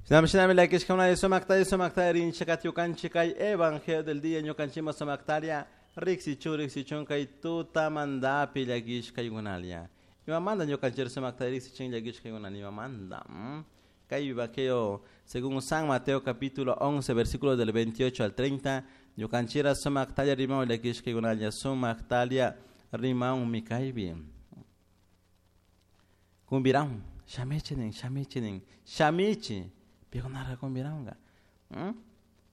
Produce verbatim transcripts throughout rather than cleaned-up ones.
Shinami llakishkuna sumakta sumakta rinchik ñukanchik kay evangelio del día ñukanchikma sumaktaria riksichun riksichun kay tutamantapi llakishkaykunalla. Imamanta ñukanchik sumakta riksichin llakishkaykuna imamanta. Kay evangelio según San Mateo capítulo once versículos del veintiocho al treinta ñukanchira sumaktaria rimaw llakishkaykunalla sumaktaria rimaw kaypi. Kumbiraw shamichi nin shamichi nin shamichi pikunara kumbirawqa.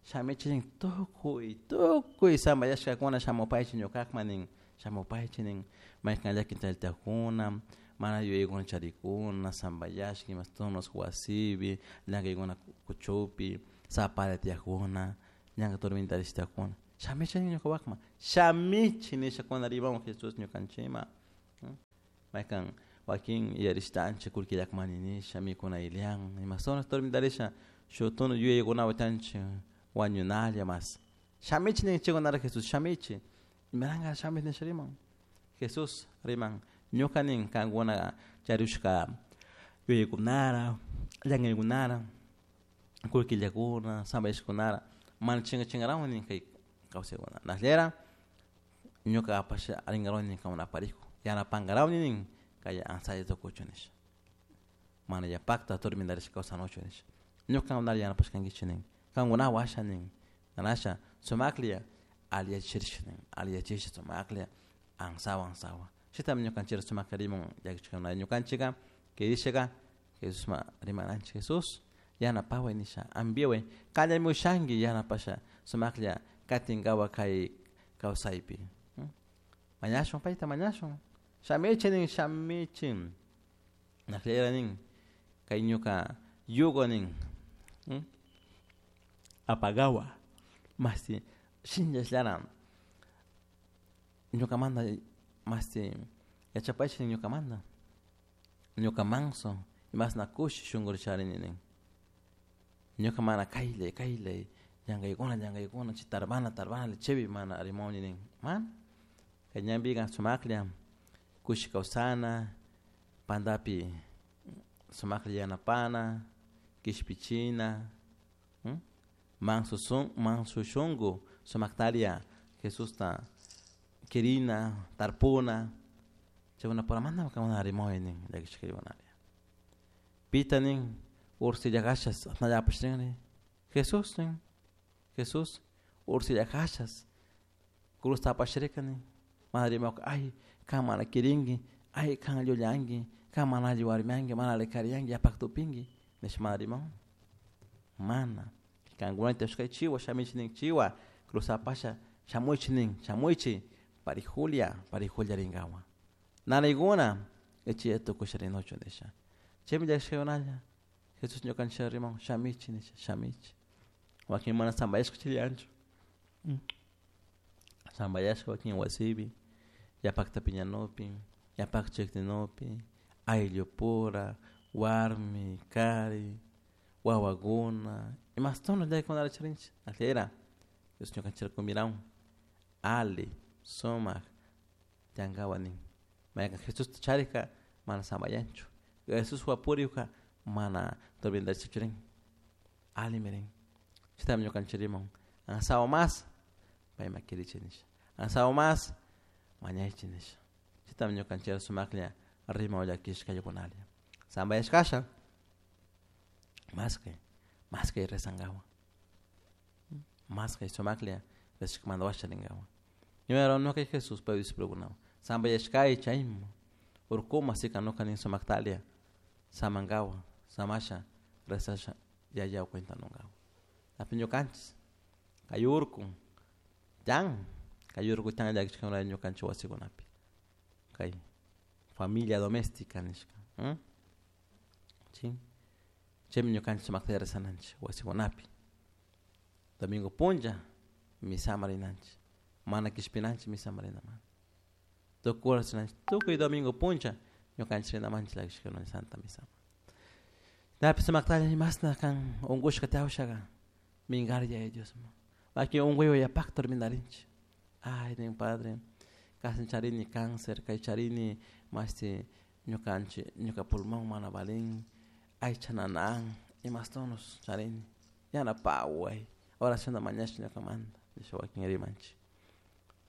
Shamichi nin tukuy tukuy sambayashkakuna shamupaychi ñukakman nin shamupaychi nin maykan llakin chaytakuna mana yuyaykuna charikuna sambayashka imastunos wasipi llank'aykuna kuchupi sapara tiyakuna ñanka tormentarishtakuna shamichi nin ñukawakman shamichi nishakuna rimawan Jesús ñukanchikman maykan wakin yarishtanchik kullkillakmani nisha mikuna ilian imastunos tormentarisha shuk tunu yuyaykunawan tanchik wañunalla mas shamichi ninchikkunara Jesús shamichi imaranga shamichi nisha riman Jesús riman ñuka nin kankuna charushka yuyaykunara llankaykunara kullkillakuna sambayashkunara mana chinkachinkarawan nin kay kawsaykuna nashlera ñuka apasha rinkarawani nin kankuna aparikun yanapankarawani nin kay ansalla tukuchun nisha mana yapakta tormentarishka kawsanuchu nisha ñuka kankunata yanapashkankichik nin kankunawan asha nin nanasha sumaklla alliyachirisha nin alliyachisha sumaklla ansawan ansawan chaytami ñukanchik sumakta riman llakichikuna ñukanchikka kirishaka Jesusman rimananchik Jesús yanapaway nisha ambiway kallarimushanki yanapasha sumaklla katinkawa kay kawsaypi mañashun payta mañashun shamichi nin shamichi nashlera nin kay ñuka yugo nin apagawa masti shinllashllara ñukamanta masti yachapaychik nin ñukamanta ñuka manso imasna kushi shunkurishani nin ñuka mana kayllay kayllay llankaykuna llankaykuna chay tarbana tarbana chaypi mana rimawni nin mana kay ñanpika sumaklla kushi kawsana pantapi sumaklla yanapana kishpichina manso sun manso shunku sumaktaria Jesusta kirina tarpuna chaykunapuramanta kankuna rimaway nin llakishkaykunaria pita nin ursillakashas asnalla apashrinri Jesús nin Jesús ursillakashas cruzta apashrika nin mana rimawka ay kan mana kirinki ay kan llullanki kan mana alli warmianki mana alli kariyanki yapakta upinki nisha mana rimawan mana kankuna tiyashkay chiwa shamichik nin chiwa cruzta apasha shamuychik nin shamuychik parijulia parijulia rinkawan nanaykuna ichilla tukusha rinuchun nisha chaymi llakishkaykunalla Jesús ñukanchik riman shamichik nisha shamichik wakin mana sambayashka chillanchu sambayashka wakin wasipi yapakta piñanupi yapakta chikninupi ayllupura warmi kari wawakuna imastuno llakikunata charinchik ashlera Dios ñukanchik kumbirawan ali sumak tiyankawan nin maykan Jesusta charikka mana sambayanchu Jesuswan purikka mana tormentarishkachu rin allimi rin chaytami ñukanchik riman ansawan mas payman kirichik nisha ansawan mas mañaychik nisha chaytami ñukanchik sumaklla riman llakishkaykunalla sambayashkasha maskay maskay rezankawan maskay sumaklla rezashkamanta washa rinkawan ñuka ñuka Jesús pay discipulokunawan sambayashkay chayman urkuma sikanuka nin sumaktalia samankawan samasha rezasha yayawan cuentanunkawan api ñukanchik kay urku tiyan kay urku tiyan llakishkakuna ñukanchik wasikunapi kay familia doméstica nishka chi chaymi ñukanchik sumakta rezananchik wasikunapi domingo punlla misaman rinanchik mana kishpinanchik misaman rinamanta tukuy rinanchik tukuy domingo punlla ñukanchik rinamanchik llakishkakuna santa misaman napi sumaktalla imasna kan unkushka tiyawshaka minkari Yaya Diosman wakin unkuywan yapakta tormentarinchik ay nin padre kashi charini cáncer kay charini mashti ñukanchik ñuka pulmón mana valin aycha nanan Imastonus charini yanapaway oracionta mañash ñukamanta nisha wakin rimanchik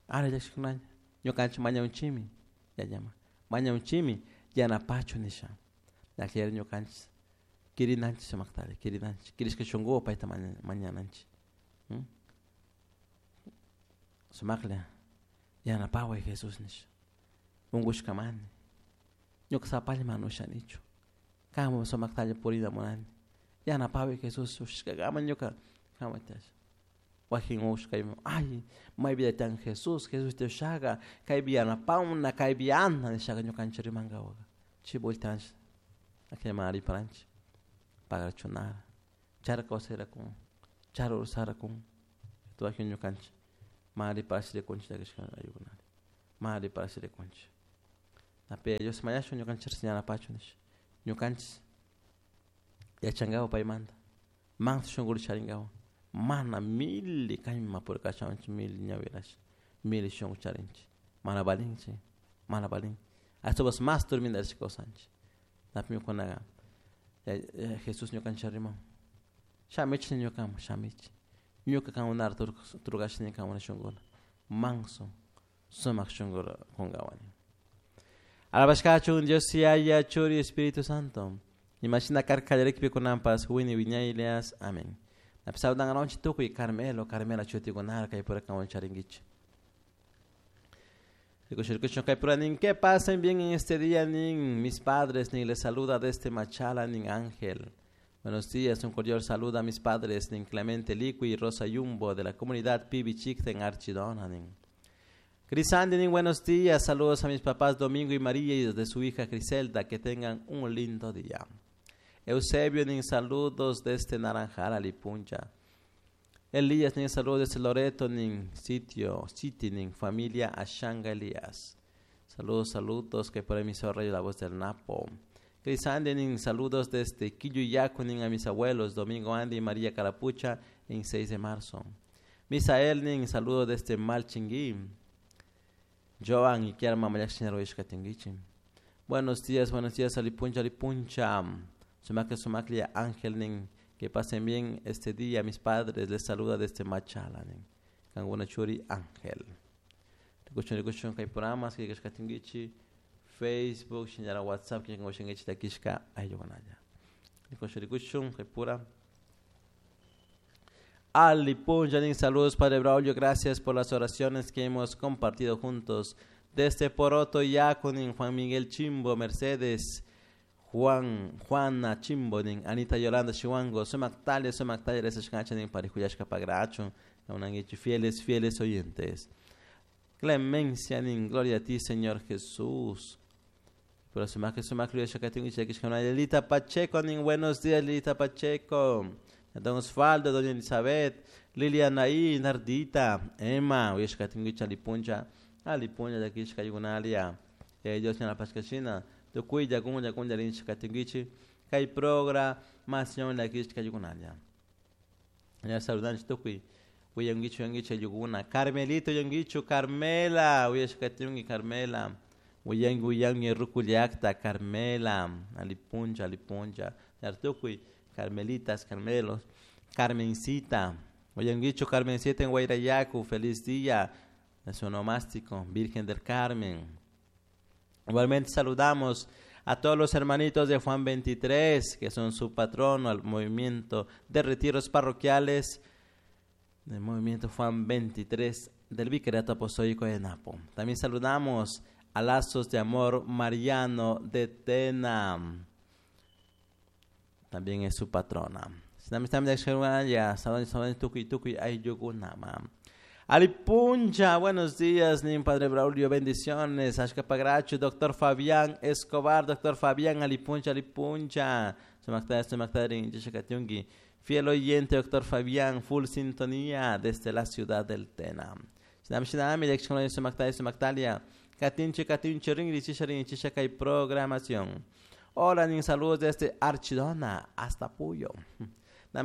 ari llakishkunalla ñukanchik mañawunchikmi yayama mañawunchikmi yanapachu nisha ñakllari ñukanchik kirinanchik sumaktari kirinanchik kirishka shunkuwan payta mañananchik sumaklla yanapaway Jesús nisha unkushkamani ñuka sapalla mana ushanichu kanwan sumaktalla purina munani yanapaway Jesús ushashkakama ñuka kamaytash wakin ushkayman ay maypi tiyan Jesús Jesús tiyashaka kaypi yanapawna kaypi anda nishaka ñukanchik rimankawaka chay vueltanchik akllaman riparanchik pagarachunara chara kawsayrakun chara ursarakun wakin ñukanchik mana riparash rikunchik llakishka ayukunata mana riparash rikunchik napi Dios mañashun ñukanchik yanapachu nisha ñukanchik yachankawa paymanta manso shunkuta charinkawa mana mili kayman purikashawanchik mili ñawirash mili shunku charinchik mana valinchik mana valin ashtawanpish mas turmindarishka kawsanchik napi kunaka Jesús ñukanchik riman shamichik ñukaman shamichik ñuka kankunara turkashni kankuna shunkuna manso sumak shunkuta kunkawani. Alabashkachun Dios Yaya Churi Espíritu Santo imashina karka kallarikpi kunanpas wini wiñaylias amén. Napi saludankaronchik tukuy Carmelo Carmela chutikunara kaypura kanwan charinkichik. Rikushun kaypura nin que pasen bien en este día nin mis padres nin les saluda desde Machala nin Ángel. Buenos días, un cordial saludo a mis padres nin Clemente Liqui y Rosa Yumbo de la comunidad Pibichicta en Archidona nin. Crisandi nin buenos días, saludos a mis papás Domingo y María y de su hija Criselda, que tengan un lindo día. Eusebio nin saludos desde Naranjal, Alipuncha. Elías nin saludos desde Loreto nin sitio, City nin familia Ashanga Elías. Saludos, saludos, que por ahí me rayo la voz del Napo. Crisandi nin saludos desde Quilluyacu nin a mis abuelos Domingo Andy y María Carapucha en seis de marzo. Misael nin saludos desde Malchinguí. Joan y Kiara Mamayak Tinguichi. Buenos días, buenos días, Alipuncha, Alipuncha. Sumaklia, Sumaklia, Ángel nin, que pasen bien este día. Mis padres les saluda desde Machala nin. Kanguna Churi Ángel. Rikuchun, rikuchun, kay programas, que Tinguichi. Facebook, shinara WhatsApp, que shingichi takishka, ayuganaya. Rikuchun, rikuchun, kay pura. Alipuncha, nin saludos, Padre Braulio, gracias por las oraciones que hemos compartido juntos. Desde Poroto, Yacunin, Juan Miguel Chimbo, Mercedes, Juan, Juana Chimbo, nin, Anita Yolanda Chihuango, Sumactalia, Sumactalia, Resashkacha, Parijuyashka Pagracho, fieles, fieles oyentes. Clemencia, nin, gloria a ti, Señor Jesús. Pero Sumac, Sumac, Lilita Pacheco, nin, buenos días, Lilita Pacheco. Don Osvaldo, Doña Elizabeth, Liliana I, Nardita, Emma, Uyashkatinguicha, Alipuncha, Alipuncha, Yakishka, Yugunalia, Dios la Pascachina, Tukuya, Gunya, Gunya, Rinchkatinguichi, Kai programación, Yakishka, Yugunalia. Ya saludan, Tukui, Uyanguichu, Yanguicha, Yuguna, Carmelito, Yanguichu, Carmela, Uyashkatingi, Carmela, Uyangu, Uyangi, Rukuliakta, Carmela, Alipuncha, Alipuncha, Yartukui, Carmelitas, Carmelos, Carmencita, Oyanguicho, Carmencita en Guairayacu, feliz día, su onomástico, Virgen del Carmen. Igualmente saludamos a todos los hermanitos de Juan veintitrés, que son su patrono al movimiento de retiros parroquiales, del movimiento Juan veintitrés del Vicariato Apostólico de Napo. También saludamos a Lazos de Amor Mariano de Tena. También es su patrona. Alipuncha, buenos días, nin Padre Braulio, bendiciones. Ashka Pagracho, doctor Fabián Escobar, doctor Fabián, Alipuncha, Alipuncha. Fiel oyente, doctor Fabián, full sintonía desde la ciudad del Tena. Programación. Hola, nin saludos desde Archidona hasta Puyo. La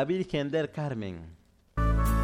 Virgen del Carmen.